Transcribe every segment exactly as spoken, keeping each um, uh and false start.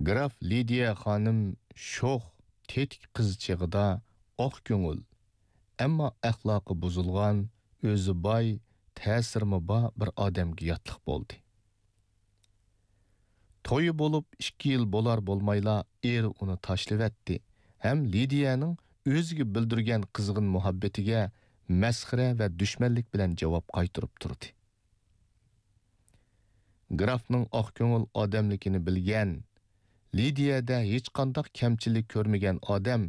گراف لىدىيە خانىم شوخ، تېتىك قىز چېغىدا ئاق كۆڭۈل، ئەمما ئەخلاقى بۇزۇلغان، ئۆزى باي، تەسىرىمۇ بار بىر ئادەمگە ياتلىق بولدى. تويى بولۇپ ئىككى يىل بولار-بولمايلا ئېرى ئۇنى تاشلىۋەتتى ھەم لىدىيەنىڭ ئۆزىگە بىلدۈرگەن قىزغىن مۇھەببىتىگە مەسخىرە ۋە دۈشمەنلىك بىلەن جاۋاب قايتۇرۇپ تۇردى. گرافنىڭ ئاق كۆڭۈل ئادەملىكىنى بىلگەن، لىدىيەدە ھېچقانداق كەمچىلىك كۆرمىگەن ئادەم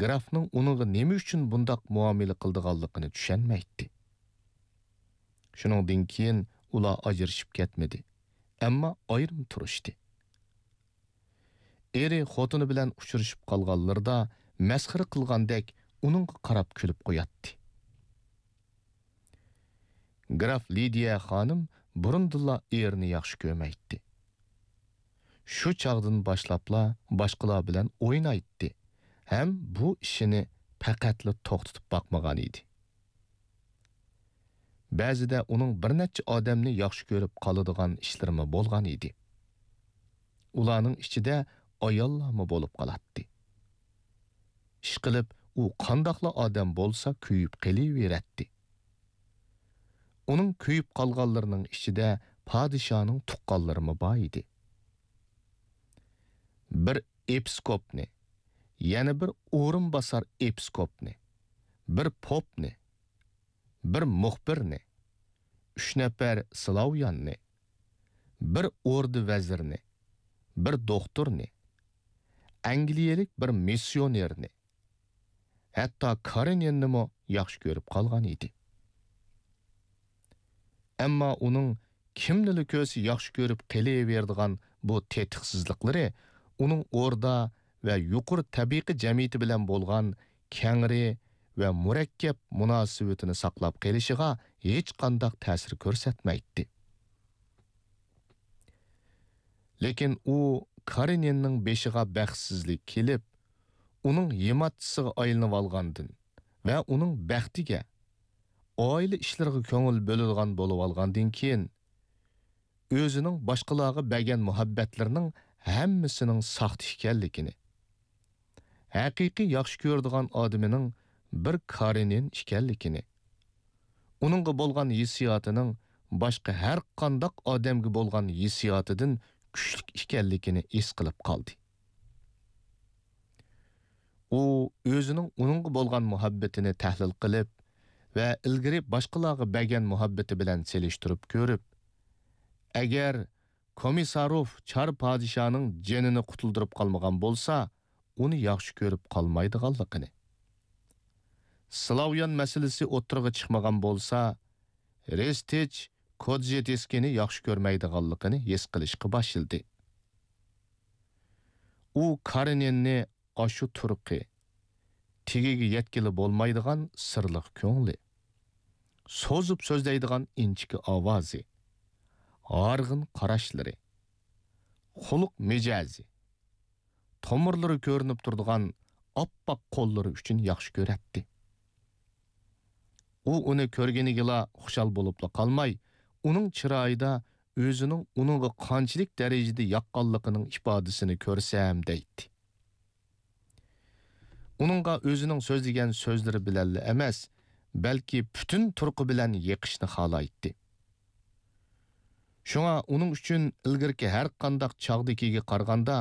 گرافنىڭ ئۇنىڭغا نېمە ئۈچۈن بۇنداق مۇئامىلە قىلىدىغانلىقىنى چۈشەنمەيتتى. شۇنىڭدىن كېيىن ئۇلار ئاجرىشىپ كەتمىدى، ئەمما ئايرىم تۇرۇشتى. ئېرى خوتۇنى بىلەن ئۇچرىشىپ قالغانلىرىدا مەسخىرە قىلغاندەك ئۇنىڭغا قاراپ كۈلۈپ قوياتتى. گراف لىدىيە خانىم بۇرۇندىنلا ئېرىنى ياخشى كۆرمەيتتى. شۇ چاغدىن باشلاپلا باشقىلار بىلەن ئوينايتتى ھەم بۇ ئىشىنى پەقەتلا توختىتىپ باقمىغان ئىدى. بەزىدە ئۇنىڭ بىر نەچچە ئادەمنى ياخشى كۆرۈپ قالىدىغان ئىشلىرىمۇ بولغان ئىدى. ئۇلارنىڭ ئىچىدە ئاياللارمۇ بولۇپ قالاتتى. ئىشقىلىپ، ئۇ قانداقلا ئادەم بولسا كۆيۈپ قېلىۋېرەتتى. ئۇنىڭ كۆيۈپ قالغانلىرىنىڭ ئىچىدە پادىشاھنىڭ تۇغقانلىرىمۇ بار ئىدى. بىر ئېپىسكوپنى، يەنە بىر ئورۇنباسار ئېپىسكوپنى، بىر پوپنى، بىر مۇخبىرنى، ئۈچ نەپەر سلاۋياننى، بىر ئوردا ۋەزىرىنى، بىر دوختۇرنى، ئەنگلىيەلىك بىر مىسسىيونېرنى، ھەتتا كارېنىننىمۇ ياخشى كۆرۈپ قالغان ئىدى. ئەمما ئۇنىڭ كىمنىلا كۆرسە ياخشى كۆرۈپ قېلىۋېرىدىغان بۇ تېتىقسىزلىقلىرى ئۇنىڭ ئوردا ۋە يۇقىرى تەبىقە جەمئىيىتى بىلەن بولغان كەڭرى ۋە مۇرەككەپ مۇناسىۋىتىنى ساقلاپ قېلىشىغا ھېچقانداق تەسىر كۆرسەتمەيتتى. لېكىن ئۇ كارېنىننىڭ بېشىغا بەختسىزلىك كېلىپ، ئۇنىڭ يېماتچىسىغا ئايلىنىۋالغاندىن ۋە ئۇنىڭ بەختىگە، ئائىلە ئىشلىرىغا كۆڭۈل بۆلىدىغان بولۇۋالغاندىن كېيىن، ئۆزىنىڭ باشقىلارغا بەرگەن مۇھەببەتلىرىنىڭ ھەممىسىنىڭ ساختا ئىكەنلىكىنى، ھەقىقىي ياخشى كۆرىدىغان ئادىمىنىڭ بىر كارېنىن ئىكەنلىكىنى، ئۇنىڭغا بولغان ھېسسىياتىنىڭ باشقا ھەر قانداق ئادەمگە بولغان ھېسسىياتىدىن كۈچلۈك ئىكەنلىكىنى ھېس قىلىپ قالدى. ئۇ ئۆزىنىڭ ئۇنىڭغا بولغان مۇھەببىتىنى تەھلىل قىلىپ ۋە ئىلگىرى باشقىلارغا بەرگەن مۇھەببىتى بىلەن سېلىشتۇرۇپ كۆرۈپ، ئەگەر كومىساروف چار پادىشانىڭ جېنىنى قۇتۇلدۇرۇپ قالمىغان بولسا، ئۇنى ياخشى كۆرۈپ قالمايدىغانلىقىنى، سلاۋيان مەسىلىسى ئوتتۇرىغا چىقمىغان بولسا، رېستىچ كودزېدېسكىنى ياخشى كۆرمەيدىغانلىقىنى ھېس قىلىشقا باشلىدى. ئۇ كارېنىننى ئاشۇ تۇرقى، تېگىگە يەتكىلى بولمايدىغان سىرلىق كۆڭلى، سوزۇپ سۆزلەيدىغان ئىنچىكە ئاۋازى، ھارغىن قاراشلىرى، خۇلق مىجەزى، تومۇرلىرى كۆرۈنۈپ تۇرىدىغان ئاپئاق قوللىرى ئۈچۈن ياخشى كۆرەتتى. ئۇ ئۇنى كۆرگىنىگىلا خۇشال بولۇپلا قالماي، ئۇنىڭ چىرايىدا ئۆزىنىڭ ئۇنىڭغا قانچىلىك دەرىجىدە ياققانلىقىنىڭ ئىپادىسىنى كۆرسەم دەيتتى. ئۇنىڭغا ئۆزىنىڭ سۆزلىگەن سۆزلىرى بىلەنلا ئەمەس، بەلكى پۈتۈن تۇرقى بىلەن يېقىشنى خالايتتى. شۇڭا ئۇنىڭ ئۈچۈن ئىلگىرىكى ھەر قانداق چاغدىكىگە قارىغاندا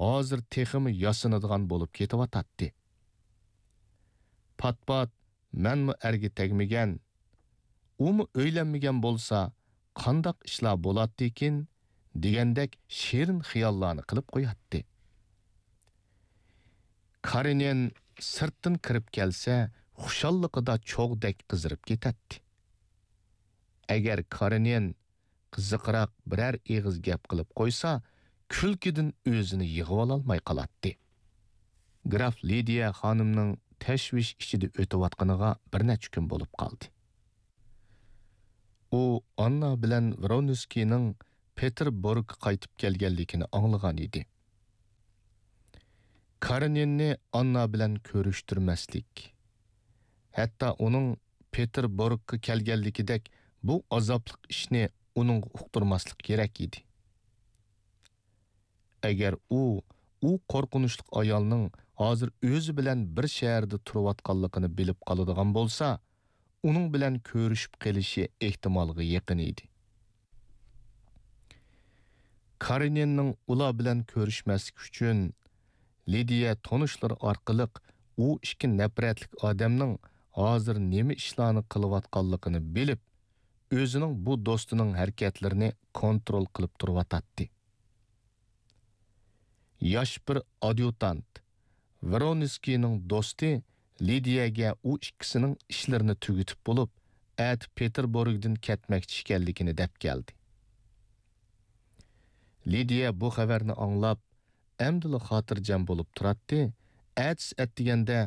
ھازىر تېخىمۇ ياسىنىدىغان بولۇپ كېتىۋاتاتتى. پات-پات مەنمۇ ئەرگە تەگمىگەن، ئۇمۇ ئۆيلەنمىگەن بولسا قانداق ئىشلار بولاتتىكىن دېگەندەك شېرىن خىياللارنى قىلىپ قوياتتى. كارېنىن سىرتتىن كىرىپ كەلسە خۇشاللىقىدا چوغدەك قىزىرىپ كېتەتتى. ئەگەر كارېنىن قىزىقراق بىرەر ئېغىز گەپ قىلىپ قويسا، كۈلكىدىن ئۆزىنى يىغىۋالالماي قالاتتى. گراف لىدىيە خانىمنىڭ تەشۋىش ئىچىدە ئۆتۈۋاتقىنىغا بىر نەچچە كۈن بولۇپ قالدى. ئۇ ئاننا بىلەن ۋرونسكىينىڭ پېتېربۇرگقا قايتىپ كەلگەنلىكىنى ئاڭلىغان ئىدى. كارېنىننى ئاننا بىلەن كۆرۈشتۈرمەسلىك، ھەتتا ئۇنىڭ پېتېربۇرگقا كەلگەنلىكىدەك بۇ ئازابلىق ئىشنى ئۇنىڭغا ئۇقتۇرماسلىق كېرەك ئىدى. ئەگەر ئۇ، ئۇ قورقۇنچلۇق ئايالنىڭ ھازىر ئۆزى بىلەن بىر شەھەردە تۇرۇۋاتقانلىقىنى بىلىپ قالىدىغان بولسا، ئۇنىڭ بىلەن كۆرۈشۈپ قېلىشى ئېھتىمالغا يېقىن ئىدى. كارېنىننىڭ ئۇلار بىلەن كۆرۈشمەسلىك ئۈچۈن، لىدىيە تونۇشلىرى ئارقىلىق ئۇ ئىككى نەپرەتلىك ئادەمنىڭ ھازىر نېمە ئىشلارنى قىلىۋاتقانلىقىنى بىلىپ، ئۆزىنىڭ بۇ دوستىنىڭ ھەرىكەتلىرىنى كونترول قىلىپ تۇرۇۋاتاتتى. ياش بىر ئاديۇتانت، ۋرونسكىينىڭ دوستى لىدىيەگە ئۇ ئىككىسىنىڭ ئىشلىرىنى تۈگىتىپ بولۇپ، ئەتە پېتېربۇرگدىن كەتمەكچى ئىكەنلىكىنى دەپ كەلدى. لىدىيە بۇ خەۋەرنى ئاڭلاپ، ئەمدىلا خاتىرجەم بولۇپ تۇراتتى، ئەتىسى ئەتىگەندە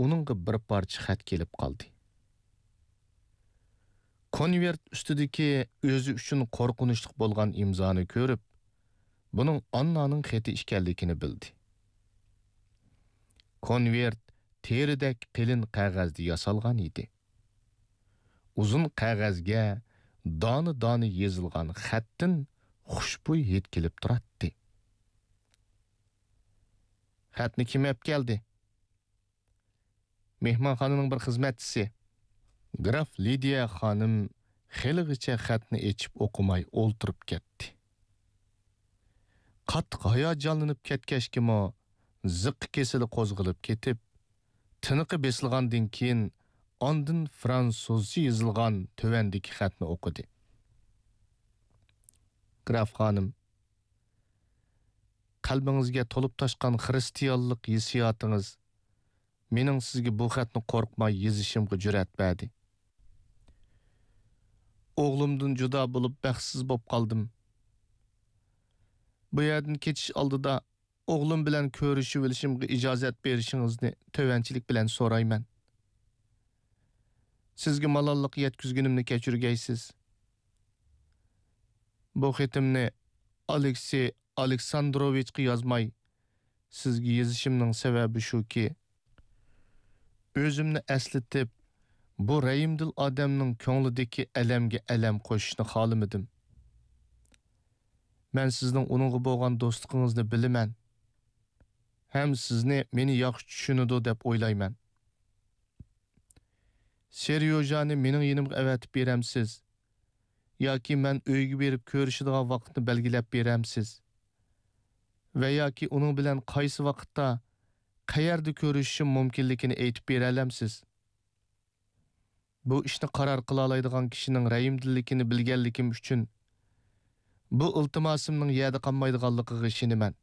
ئۇنىڭغا بىر پارچە خەت كېلىپ قالدى. كونۋېرت ئۈستىدىكى ئۆزى ئۈچۈن قورقۇنچلۇق بولغان ئىمزانى كۆرۈپ، بۇنىڭ ئاننانىڭ خېتى ئىكەنلىكىنى بىلدى. كونۋېرت تېرىدەك قېلىن قەغەزدە ياسالغان ئىدى. ئۇزۇن قەغەزگە دانە-دانە يېزىلغان خەتتىن خۇشبۇي ھىد كېلىپ تۇراتتى. «خەتنى كىم ئەپ كەلدى؟» «مېھمانخانىنىڭ بىر خىزمەتچىسى.» گراف لىدىيە خانىم خېلىغىچە خەتنى ئېچىپ ئوقۇماي ئولتۇرۇپ كەتتى. قاتتىق ھاياجانلىنىپ كەتكەچكىمۇ، زىققا كېسىلى قوزغىلىپ كېتىپ، تىنىقى بېسىلغاندىن كېيىن، ئاندىن فرانسۇزچە يېزىلغان تۆۋەندىكى خەتنى ئوقۇدى. «گراف خانىم، قەلبىڭىزگە تولۇپ تاشقان خىرىستىيانلىق ھېسسىياتىڭىز مېنىڭ سىزگە بۇ خەتنى قورقماي يېزىشىمغا جۈرئەت بەردى. ئوغلۇمدىن جۇدا بولۇپ، بەختسىز بولۇپ قالدىم. بۇ يەردىن كېتىش ئالدىدا ئوغلۇم بىلەن كۆرۈشۈۋېلىشىمغا ئىجازەت بېرىشىڭىزنى تۆۋەنچىلىك بىلەن سورايمەن. سىزگە مالاللىق يەتكۈزگىنىمنى كەچۈرگەيسىز. بۇ خېتىمنى ئالېكسېي ئالېكساندروۋىچقا يازماي، سىزگە يېزىشىمنىڭ سەۋەبى شۇكى، ئۆزۈمنى ئەسلىتىپ، بۇ رەھىمدىل ئادەمنىڭ كۆڭلىدىكى ئەلەمگە ئەلەم قوشۇشنى خالىمىدىم. مەن سىزنىڭ ئۇنىڭغا بولغان دوستلۇقىڭىزنى بىلىمەن ھەم سىزنى مېنى ياخشى چۈشىنىدۇ دەپ ئويلايمەن. سېريوژانى مېنىڭ يېنىمغا ئەۋەتىپ بېرەمسىز؟ ياكى مەن ئۆيگە بېرىپ كۆرۈشىدىغان ۋاقىتنى بەلگىلەپ بېرەمسىز؟ ۋە ياكى ئۇنىڭ بىلەن قايسى ۋاقىتتا، قەيەردە كۆرۈشۈشۈم مۇمكىنلىكىنى ئېيتىپ بېرەلەمسىز؟ بۇ ئىشنى قارار قىلالايدىغان كىشىنىڭ رەھىمدىللىكىنى بىلگەنلىكىم ئۈچۈن، بۇ ئىلتىماسىمنىڭ يەردە قالمايدىغانلىقىغا ئىشىنىمەن.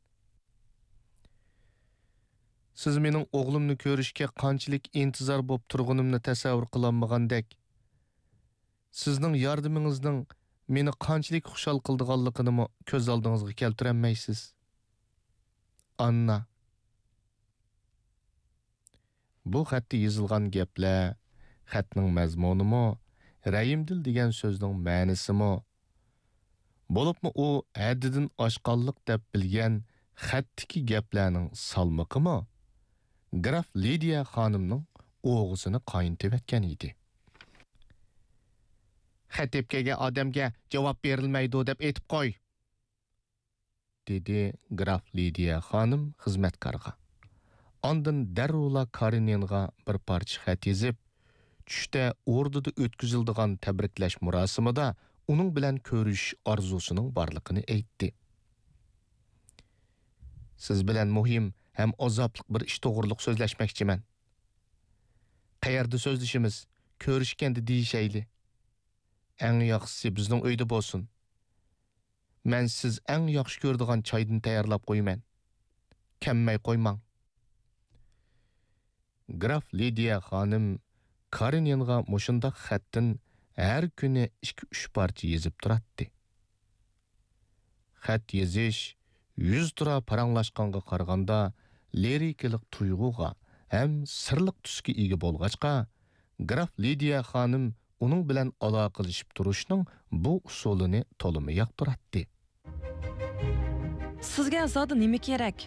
سىز مېنىڭ ئوغلۇمنى كۆرۈشكە قانچىلىك ئىنتىزار بولۇپ تۇرغىنىمنى تەسەۋۋۇر قىلالمىغاندەك، سىزنىڭ ياردىمىڭىزنىڭ مېنى قانچىلىك خۇشال قىلىدىغانلىقىنىمۇ كۆز ئالدىڭىزغا كەلتۈرەلمەيسىز. ئاننا. بۇ خەتتە يېزىلغان گەپلەر، خەتنىڭ مەزمۇنىمۇ، رەھىمدىل دېگەن سۆزنىڭ مەنىسىمۇ، بولۇپمۇ ئۇ ھەددىدىن ئاشقانلىق دەپ بىلگەن خەتتىكى گەپلەرنىڭ سالمىقىمۇ گراف لىدىيە خانىمنىڭ ئوغىسىنى قاينىتىۋەتكەن ئىدى. «خەت ئېلىپ كەلگەن ئادەمگە جاۋاب بېرىلمەيدۇ دەپ ئېيتىپ قوي.» دېدى گراف لىدىيە خانىم خىزمەتكارغا. ئاندىن دەررۇلا كارېنىنغا بىر پارچە خەت يېزىپ، چۈشتە ئوردىدا ئۆتكۈزۈلىدىغان تەبرىكلەش مۇراسىمىدا ئۇنىڭ بىلەن كۆرۈشۈش ئارزۇسىنىڭ بارلىقىنى ئېيتتى. سىز بىلەن مۇھىم ھەم ئازابلىق بىر ئىش توغرۇلۇق سۆزلەشمەكچىمەن. قەيەردە سۆزلىشىمىز؟ كۆرۈشكەندە دېيىشەيلى. ئەڭ ياخشىسى بىزنىڭ ئۆيدە بولسۇن. مەن سىز ئەڭ ياخشى كۆرىدىغان چايدىن تەييارلاپ قويىمەن. كەممەي قويماڭ. گراف لىدىيە خانىم كارېنىنغا مۇشۇنداق خەتتىن ھەر كۈنى ئىككى-ئۈچ پارچە يېزىپ تۇراتتى. خەت يېزىش يۈزتۇرا پاراڭلاشقانغا قارىغاندا لىرىكىلىق تۇيغۇغا ھەم سىرلىق تۈسكە ئىگە بولغاچقا، گراف لىدىيە خانىم ئۇنىڭ بىلەن ئالاقىلىشىپ تۇرۇشنىڭ بۇ ئۇسۇلىنى تولىمۇ ياقتۇراتتى. سىزگە زادى نېمە كېرەك؟